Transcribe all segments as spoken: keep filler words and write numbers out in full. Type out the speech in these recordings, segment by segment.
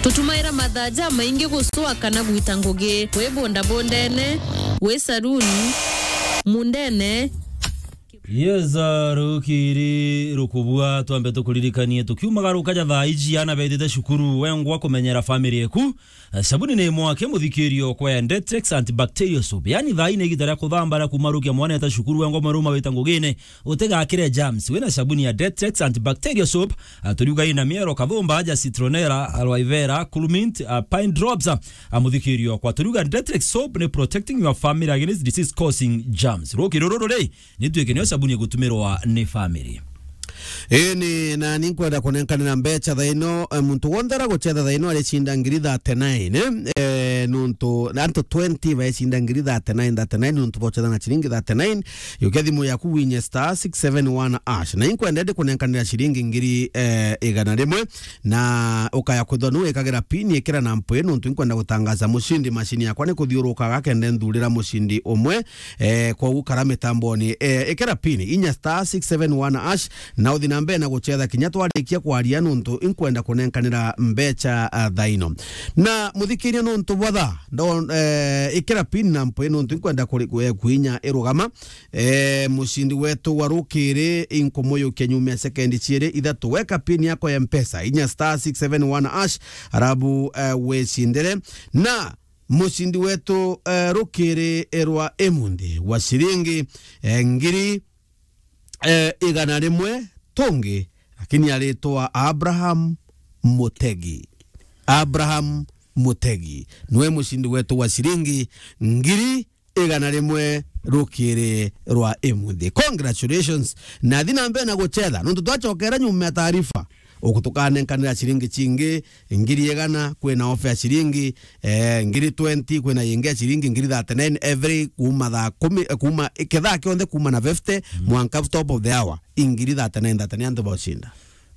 Tutumaira mathaa jamaingi gucwa kana gwita ngugi, wi bondabondene, wi saruni, mundene. Yes, uh, rukiri rukubua, twambe tukuririkanie, tukiumaga rukaja thaa iji, ana bethite cukuru, wengwa kumenyera family eku. Uh, sabuni ni mwake, muthikirio kwa Detex Antibacterial Soap. Yani thaa ine igita ria kuthamba ria kumarukia mwana eta cukuru, wengwa mwaruma wita ngugine, utigakire germs. Wina sabuni ya Detex Antibacterial Soap, uh, turiuga ina miero, kathumba, aja citronella, aloe vera, cool mint, uh, pine drops, uh, uh, muthikirio kwa turiuga Detex Soap ni protecting your family against disease causing germs. Rukiri ruru ri, ni tuike nio sabuni igutumirwa ni family. Ii ni, na ni nkwenda kunenkanira mbecha thaa ino, eh, muntu wonthe araguchetha thaa ino aricinda ngiri thirty-nine, eh? Eh, nuntu antu twenty baecinda ngiri thirty-nine, thirty-nine, nuntu bochetha na ciringi thirty-nine, yukia thimu yaku winye star six seven one hash. Na inkwenda ndi kunenkanira ciringi ngiri, eh, igana rimwe, na ukaya kwithwa nu wikagira pin, ikira na mpwi, nuntu inkwenda gutangaza mucindi. Macini yakwa ni kuthiurukaga kende nthurira mucindi umwe, eh, kwogu kara mitamboni, eh, ikira pin, inya star six seven one hash, na uthi na mbere na guchetha kinya twarikia kwaria, nuntu inkwenda kunenkanira mbecha, ah, thaa ino. Na muthikiria, nuntu bwa thaa, ndo-, eh, ikira pin na mpwi, nuntu inkwenda kuri-, kwe-, kwinya irugama. Eh, mucindi wetu wa rukiri inkumuyukia nyuma ya sekendi ciiri ithatu. Weka pin yako ya Mpesa, inya star six seven one hash, arabu, eh, wicindire. Na mucindi wetu, eh, rukiri rwa imunthi wa ciringi, eh, ngiri, eh, igana rimwe tungi, lakini aritwa Abraham Mutegi. Abraham Mutegi niwe mucindi wetu wa ciringi ngiri igana rimwe rukiri rwa imunthi. Congratulations. Na thi na mbere na guchetha, nuntu twachokera nyuma ya taarifa, uku tukanenkanira ciringi cingi ngiri igana, kwina ofa ya ciringi, eh, ngiri twenty, kwina yingi ya ciringi ngiri thirty-nine every kuma thaa kumi, eh, kuma, eh, kethaa kionthe kuma na fifty mwanka top of the hour, ingiri thirty-nine, thirty-nine antu baucinda.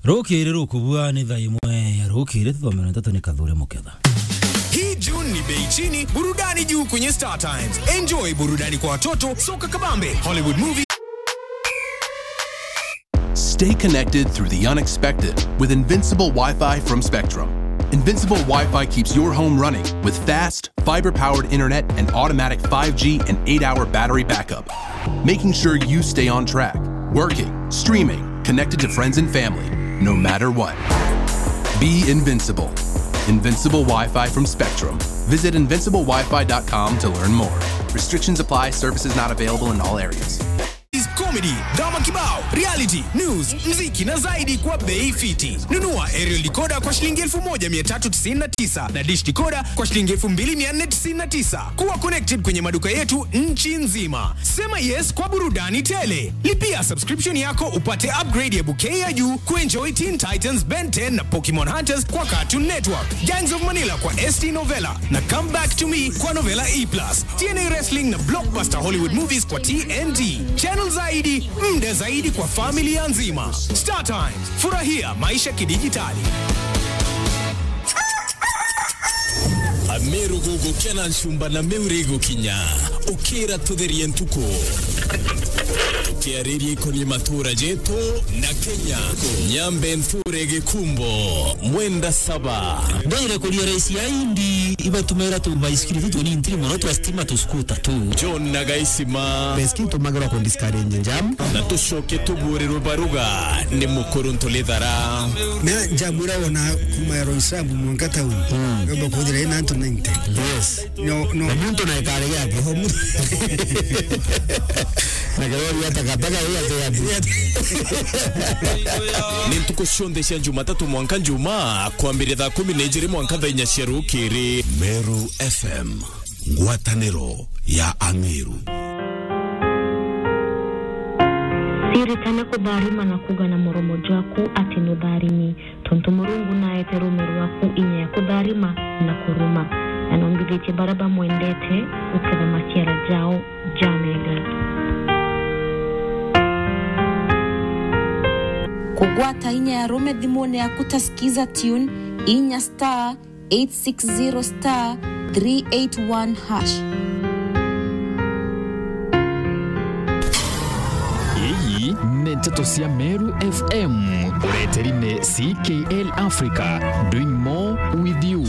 Rukiri rukubua ni thaa imwe ya rukiri, tuthomere nteto ni Kathure Muketha. Hii June ni bei chini, burudani juu kwenye Star Times. Enjoy burudani kwa watoto, soka kabambe, Hollywood movie. Stay connected through the unexpected with Invincible Wi-Fi from Spectrum. Invincible Wi-Fi keeps your home running with fast, fiber-powered internet and automatic five G and eight-hour battery backup, making sure you stay on track, working, streaming, connected to friends and family, no matter what. Be invincible. Invincible Wi-Fi from Spectrum. Visit invincible wi fi dot com to learn more. Restrictions apply. Services not available in all areas. Comedy, drama kibao, reality, news, mziki na zaidi kwa bei fiti. Nunua aerial decoder kwa shilingi elfu moja mia tatu tisini na tisa na dish decoder kwa shilingi elfu mbili mia nne tisini na tisa. Kuwa connected kwenye maduka yetu nchi nzima. Sema yes kwa burudani tele. Lipia subscription yako upate upgrade ya bouquet ya juu kuenjoy Teen Titans, Ben ten na Pokemon Hunters kwa Cartoon Network, Gangs of Manila kwa S T Novella na Come Back to Me kwa Novella E plus, T N A Wrestling na blockbuster Hollywood movies kwa T N T. Channel zaidi, muda zaidi kwa familia nzima. Star Times, furahia maisha kidijitali. Ameru gugukena nchumba na miuri igukinya. Ukira tutherie ntuku. Tukiariria ikoni matura jetu na Kenya. Nyambe nture gikumbo. Mwenda saba. Ndwire kuria raisi ya indi, ibatumira tu baisikiri tu tunini mono twa stima tu skuta tu. John na Gaisima. Beski tumagirwa ku discourage jam. Na tucoke tuburirwe baruga ni mukuru Ntulithara. Na njamwira wona kuma ya Roysambu mwanka town. Mm. Yomba kuthira ina antu ninety. Yes. No, no. Na muntu na ikare yake. Oho, mu- Na kirori ya takataka hii ati ati. Ni ntuku cionthe cia Jumatatu mwanka Njumaa, kwambiria thaa kumi na ijiri mwanka thaa inya cia rukiri. Meru F M, ngwataniro ya Ang'eru. Siritana kutharima na kuga na muromo jwaku ati nutharimi. Tontu Murungu naete ruume rwaku inya ya kutharima na kuruma, na nombithitie baria bamwendete guketha maciara jao jamega. Kugwata inya ya ruume thimune yaku ta Skiza Tune, inya star eight six zero star three eight one hash. Ii ni nteto cia Meru F M, ureteri ni C K L Africa, doing more with you.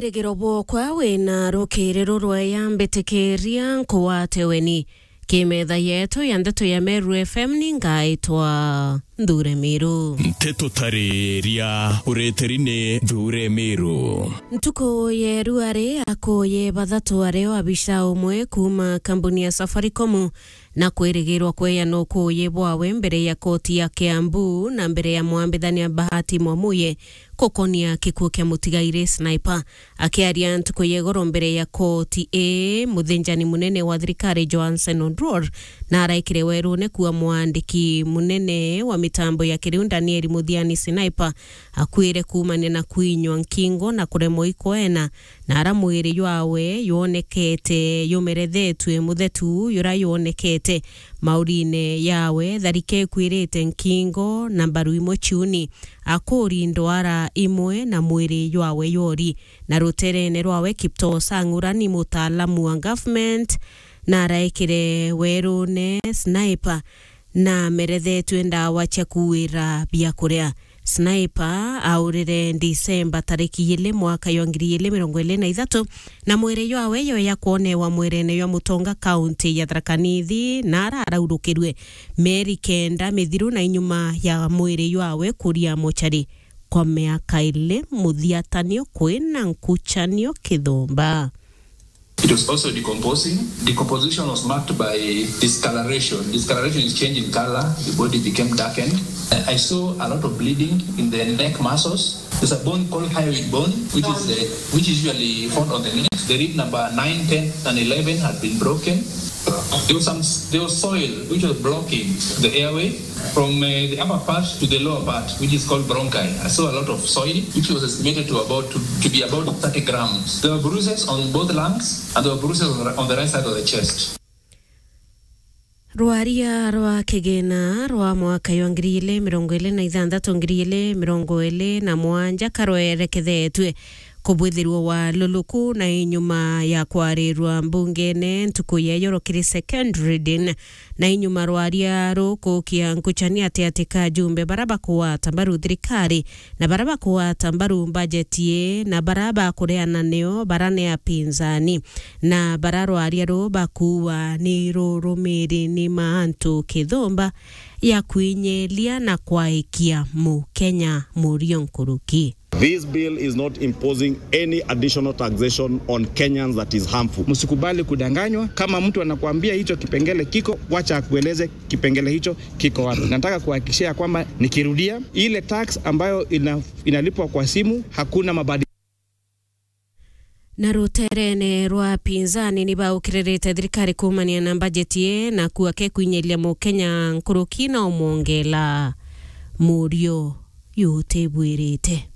Rigiro bwokwa wina rukiri rurweya, mbitikiria nkuwate weni. Kimetha yetu ya ndeto ya Meru F M ni ngaitwa Nthure Miru. Nteto tariria ureteri ni Nthure Miru. Ntuku ya ruari, akuuyi bathatu ario abica umwe kuuma kambuni ya Safaricom na kwirigirwa kweana ukuuyi bwawe mbere ya koti ya Kiambu na mbere ya mwambithania Bahati Mwamuye gukonia gikuu kia mutigairi Sniper. Akiaria ntuku ya igoro mbere ya koti ii, muthinjani munene wa thirikari Johansen Oduor na araikire werune kuua mwandiki munene wa mitambo ya kiriu Daniel Muthiani Sniper akuire kuumania na kwinywa nkingo na kuremwa ikweana, na ara mwiri jwawe jwonekete jumerethetue muthetu jura jwonekete maurine yawe, tharike ikwirite nkingo na mbaru imwe ciuni, akuri ndwara imwe na mwiri jwawe jwori. Na ruterene rwawe Kiptoo Sang ura ni mutaalamu wa government na araikire werune Sniper na merethetue ndawa cia kuwira biakuria. Sniper aurire Disemba tariki ili mwaka jwa ngiri ili mirongo ili na ithatu, na mwiri jwawe jweya kwonewa mwirene jwa mutonga kaunti ya Tharaka Nithi, na araraurukirwe mieri kenda mithiru na inyuma ya mwiri jwawe kuria mochari kwa miaka ili muthiatanio kwina nkuchanio kithumba. It was also decomposing. Decomposition was marked by discoloration. Discoloration is change in color. The body became darkened. I I saw a lot of bleeding in the neck muscles. There's a bone called hyoid bone, which is the, which is usually found on the neck. The rib number nine, ten, and eleven had been broken. There was some, there was soil which was blocking the airway. From, uh, the upper part to the lower part, which is called bronchi, I saw a lot of soil, which was estimated to about, to, to be about thirty grams. There were bruises on both lungs, and there were bruises on the, on the right side of the chest. Rwaria rwa kigina rwa mwaka jwa ngiri ili mirongo ili na ithanthatu, ngiri ili mirongo ili na mwanja karwerekethetue kubwithirwa wa luluku na inyuma ya kwarirwa mbungene ntuku ya ijoro kiri second reading. Na inyuma rwaria rukukia nkuchani ati ati ka ajumbe bara bakugwata mbaru thirikari na bara bakugwata mbaru mbajeti ii na bara bakureana nio bara ni apinzani, na bara rwaria ruu bakuua ni rurumiri ni ma antu kithumba ya kwinyelia na kwaikia Mukenya murio nkuruki. This bill is not imposing any additional taxation on Kenyans that is harmful. Msikubali kudanganywa. Kama mtu anakuambia hicho kipengele kiko, wacha akueleze kipengele hicho kiko wapi. Nataka kuhakikishia kwamba nikirudia, ile tax ambayo ina-, inalipwa kwa simu, hakuna mabadiliko. Na ruterene rwa pinzani ni baukiririte thirikari kuumania na mbajeti ii na kuua ke kwinyiria Mukenya nkuruki na umwongela murio yutibwirite.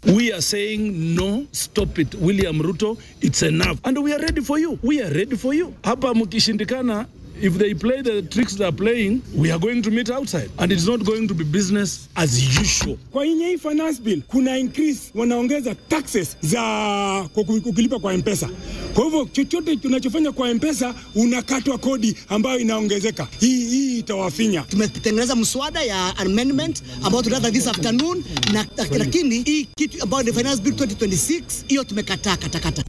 We are saying no, stop it. William Ruto, it's enough. And we are ready for you. We are ready for you. Hapa mkishindikana, if they play the tricks they are playing, we are going to meet outside. And it's not going to be business as usual. Kwa inye hii finance bill, kuna increase, wanaongeza taxes za kuku-, ukilipa kwa M-Pesa. Kwa hivyo, chochote tunachofanya kwa M-Pesa, unakatwa kodi ambayo inaongezeka. Hii, hii itawafinya. Tumetengeneza mswada ya amendment ambayo tunaanza this afternoon, na, lakini hii kitu ambayo ni Finance Bill twenty twenty-six, hiyo tumekataa katakata.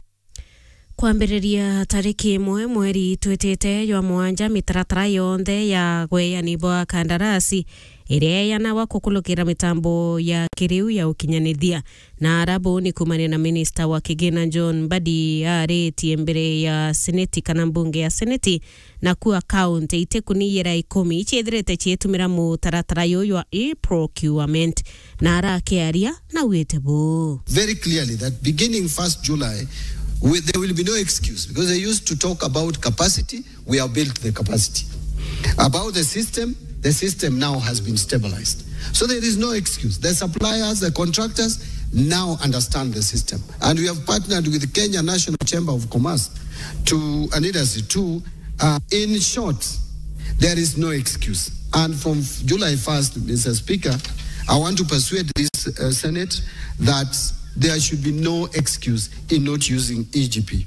Kwambiriria tariki imwe mweri twitite jwa mwanja, mitaratara yonthe ya gweani bwa kandarasi iria eyanagwa kukulukira mitambo ya kiriu ya ukinyanithia na arabu ni kumania na minista wa kigina John Mbadi aritie mbere ya seneti kana mbunge ya seneti, na kuua kaunti itikuniyira ikumi iciithirite ciitumira mutaratara juju jwa e-procurement, na arakiaria na wite buu. Very clearly that beginning first July, we, there will be no excuse because they used to talk about capacity. We have built the capacity. About the system, the system now has been stabilized. So there is no excuse. The suppliers, the contractors now understand the system. And we have partnered with Kenya National Chamber of Commerce to, and Industry to, uh, in short, there is no excuse. And from July first, Mister Speaker, I want to persuade this, uh, Senate that there should be no excuse in not using E G P.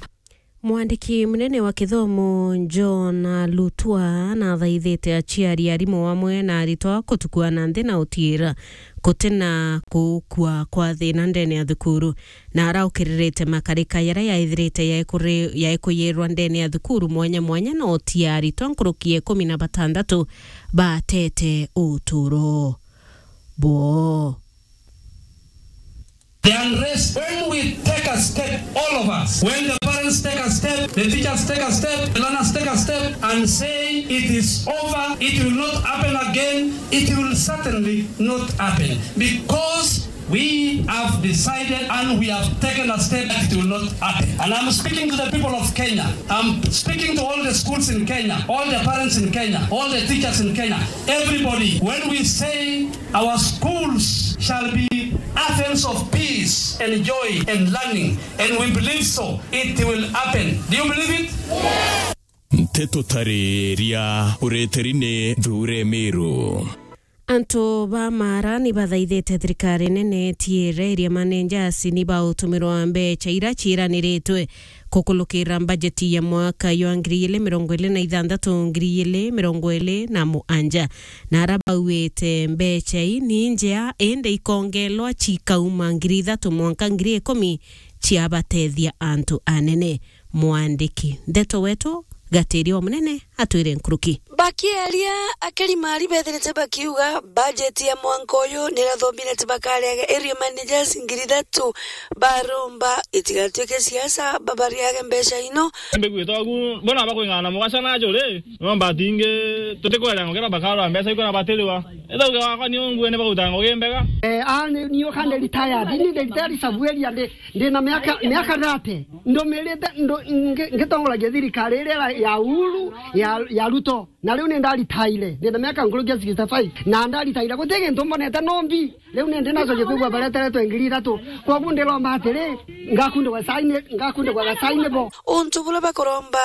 Mwandiki munene wa kithomo John Lutwa nathaithite aciari, arimu amwe na aritwa kutukua na nthi na utiira gutina gukua kwa thina ndene ya thukuru, na araukiririte makarika jaria yaithirite yaikuri-, yaikuyirwa ndene ya thukuru mwanya mwanya na utia aritwa nkuruki ya ikumi na batandatu batete uturo bwoo. The unrest, when we take a step, all of us, when the parents take a step, the teachers take a step, the learners take a step and say it is over, it will not happen again, it will certainly not happen because we have decided and we have taken a step that it will not happen. And I'm speaking to the people of Kenya. I'm speaking to all the schools in Kenya, all the parents in Kenya, all the teachers in Kenya, everybody. When we say our schools shall be havens of peace and joy and learning, and we believe so, it will happen. Do you believe it? Nteto tariria ureteri ni Thure Miru. Antu ba Mara ni bathaithite thirikari nene itiire area managers ni bautumirwa mbecha ira ciiraniritwe kukulukira mbajeti ya mwaka jwa ngiri igiri mirongo iri na ithanthatu, ngiri igiri mirongo iri na mugwanja. Na ara bauite mbecha ii ni njea, indi ikongelwa cikauma ngiri ithatu mwanka ngiri ikumi ciabatethia antu anene. Mwandiki ndeto wetu Gatiria wa Munene atwire nkuruki. Bakiaria, akeri Mari bethirite bakiuga bajeti ya mwanka uyu nirathomire ti bakariaga area managers ngiri ithatu baromba itigatuike siasa babariage mbecha ino. Mbigwite ogu, mbona bakwing'ana mugaca na njuri, no mbatingi tutikwera ngukira bakarora mbecha ikona batiriwa. Ethauge wakwa ni ungue ni baguta ngugi mbega. Eh, a, ni, ni ukande retired, ni ndi retired sabueria ndi, ndi na miaka, miaka thirty. Ndumirite, ndu-, ngi-, ngitongoragia thirikari iria ya Uhuru, ya, ya Ruto. Na riu ni ndaritaire, ndi na miaka nkurukia sixty-five. Na ndaritaire, guti gintu mbonete no mbi. Riu ni ndi nacokia kwigua bareteretwe ngiri ithatu. Koguo ndiromba atiri, ngakundikwa saini, ngakundikwa gasaini bo. Untu bula bakuromba